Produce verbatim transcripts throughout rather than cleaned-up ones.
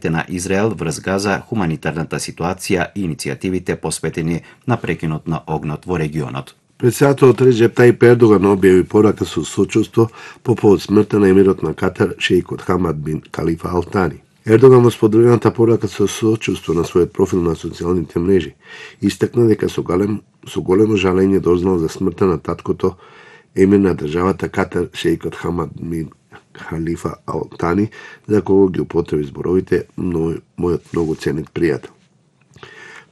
на Израел врз Газа, хуманитарната ситуација и иницијативите посветени на прекинот на огнот во регионот. Председателот Реджеп Тајип Ердоган објави порака со сочувство по повод смртта на емирот на Катар шеикот Хамад бин Калифа Ал Тани. Ердоган во споделената порака со сочувство на својот профил на социјалните мрежи истакна дека со голем со големо жалење дознал за смртта на таткото емир на државата Катар шеикот Хамад бин Халифа Ал Тани, за кого ги употреби зборовите мојот многу ценет пријател.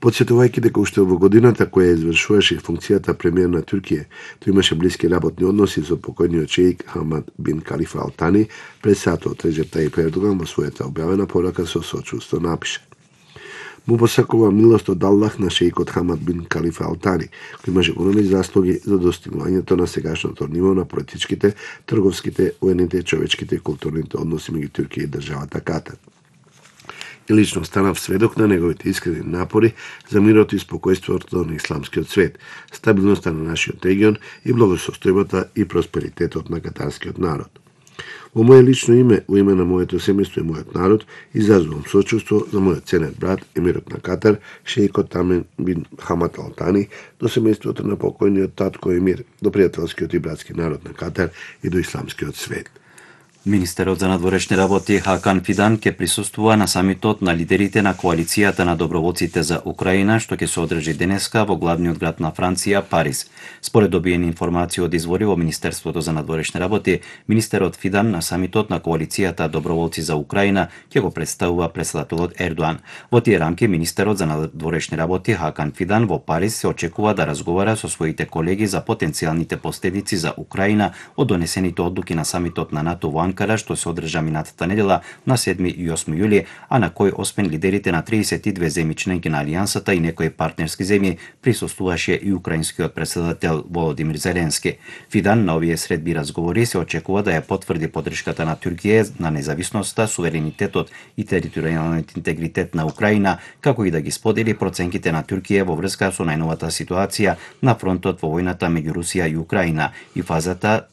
Подсетувајќи дека уште во годината која извршуваше функцијата премиер на Туркија, тој имаше блиски работни односи со покојниот шеик Хамад бин Калифа Ал Тани, председателот Реджеп Тајип Ердоган во својата објавена порака со сочувство напиша: Му посакува милост од Аллах на шеикот Хамад бин Калифа Ал Тани, кој имаше големи заслуги за достигнувањето на сегашното ниво на политичките, трговските, воените, човечките и културните односи меѓу Туркија и државата Катар. И лично станав сведок на неговите искрени напори за мирот и спокојството на исламскиот свет, стабилноста на нашиот регион и благосостојбата и просперитетот на катарскиот народ. Во моје лично име, во име на моето семејство и мојот народ, изразувам сочувство за мојот ценет брат, емирот на Катар, шеикот Тамин бин Хамад Ал Тани, до семејството на покојниот татко емир, до пријателскиот и братски народ на Катар и до исламскиот свет. Министерот за надворешни работи Хакан Фидан ќе присуствува на самитот на лидерите на коалицијата на доброволците за Украина, што ќе се одржи денеска во главниот град на Франција, Париз. Според добиени информации од извори во Министерството за надворешни работи, министерот Фидан на самитот на коалицијата доброволци за Украина ќе го представува председателот Ердоан. Во тие рамки министерот за надворешни работи Хакан Фидан во Париз се очекува да разговара со своите колеги за потенцијалните последици за Украина од донесените одлуки на самитот на НАТО во Анкара, што се одржа минатата недела на седми и осми јули, а на кој освен лидерите на триесет и две земји членки на Алијансата и некои партнерски земји присуствуваше и украинскиот председател Володимир Зеленски. Фидан на овие средби разговори се очекува да ја потврди поддршката на Туркија на независноста, суверенитетот и територијалниот интегритет на Украина, како и да ги сподели проценките на Туркија во врска со најновата ситуација на фронтот во војната меѓу Русија и Украина и фазата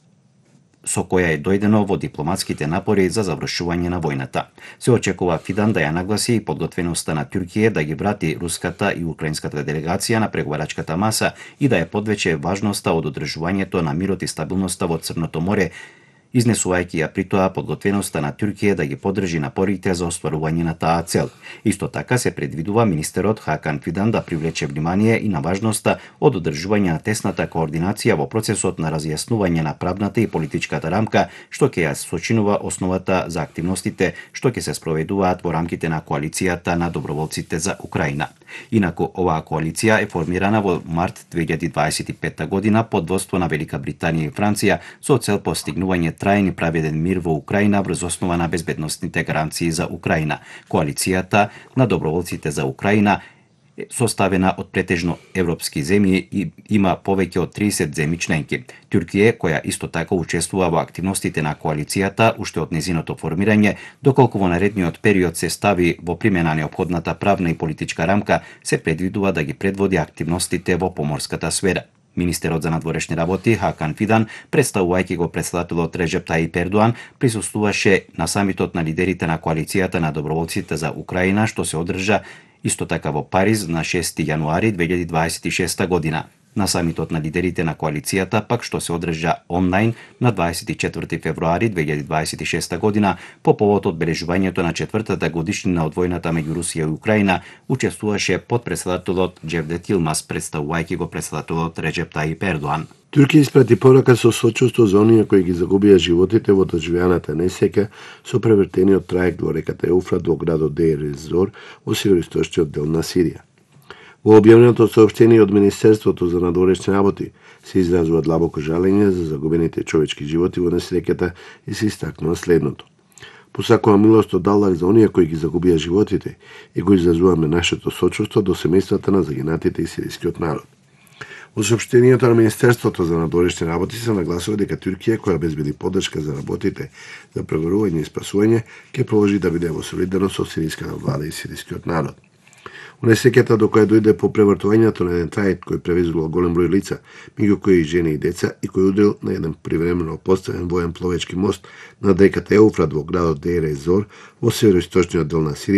со која е дојдено во дипломатските напори за завршување на војната. Се очекува Фидан да ја нагласи и подготвеноста на Туркија да ги врати руската и украинската делегација на преговарачката маса и да ја подвече важноста од одржувањето на мирот и стабилноста во Црното море, изнесувајќи ја при тоа подготвеноста на Туркија да ги поддржи напорите за остварување на таа цел. Исто така се предвидува министерот Хакан Фидан да привлече внимание и на важноста од одржување на тесната координација во процесот на разјаснување на правната и политичката рамка, што ќе ја сочинува основата за активностите што ќе се спроведуваат во рамките на коалицијата на доброволците за Украина. Инаку оваа коалиција е формирана во март две илјади дваесет и петта година под водство на Велика Британија и Франција со цел постигнување трајен и праведен мир во Украина врз основа на безбедносните гаранции за Украина. Коалицијата на доброволците за Украина е составена од претежно европски земји и има повеќе од триесет земји членки. Туркија, која исто така учествува во активностите на коалицијата уште од незиното формирање, доколку во наредниот период се стави во примена неопходната правна и политичка рамка, се предвидува да ги предводи активностите во поморската сфера. Министерот за надворешни работи Хакан Фидан, представувајќи го председателот Реджеп Тајип Ердоан, присуствуваше на самитот на лидерите на коалицијата на доброволците за Украина, што се одржа исто така во Париз на шести јануари две илјади дваесет и шеста година. На самитот на лидерите на коалицијата пак што се одржа онлайн на дваесет и четврти февруари две илјади дваесет и шеста година по повод одбележувањето на четвртата годишнина од војната меѓу Русија и Украина, учествуваше подпредседателот Џевдет Илмаз, представувајќи го председателот Реджеп Тајип Ердоан. Туркија испрати порака со сочувство за оние кои ги загубија животите во доживеаната несреќа со превртениот трајект во реката Еуфрат во градот Деир ез-Зор во североисточниот дел на Сирија. Во објавеното соопштение од Министерството за надворешни работи се изразува длабоко жалење за загубените човечки животи во несреќата и се истакнува следното: Посакува милост од Аллах за оние кои ги загубија животите и го изразуваме нашето сочувство до семејствата на загинатите и сирискиот народ. Во соопштението на Министерството за надворешни работи се нагласува дека Туркија, која обезбеди поддршка за работите за преговарување и спасување, ќе продолжи да биде во солидарност со сириската влада и сирискиот народ. Унесреќата до која дојде по превртувањето на еден трајект кој превезувал голем број лица, меѓу кои и жени и деца, и кој удрил на еден привремено поставен воен пловечки мост над реката Еуфрат во градот Дейр ез Зор во североисточниот дел на Сирија,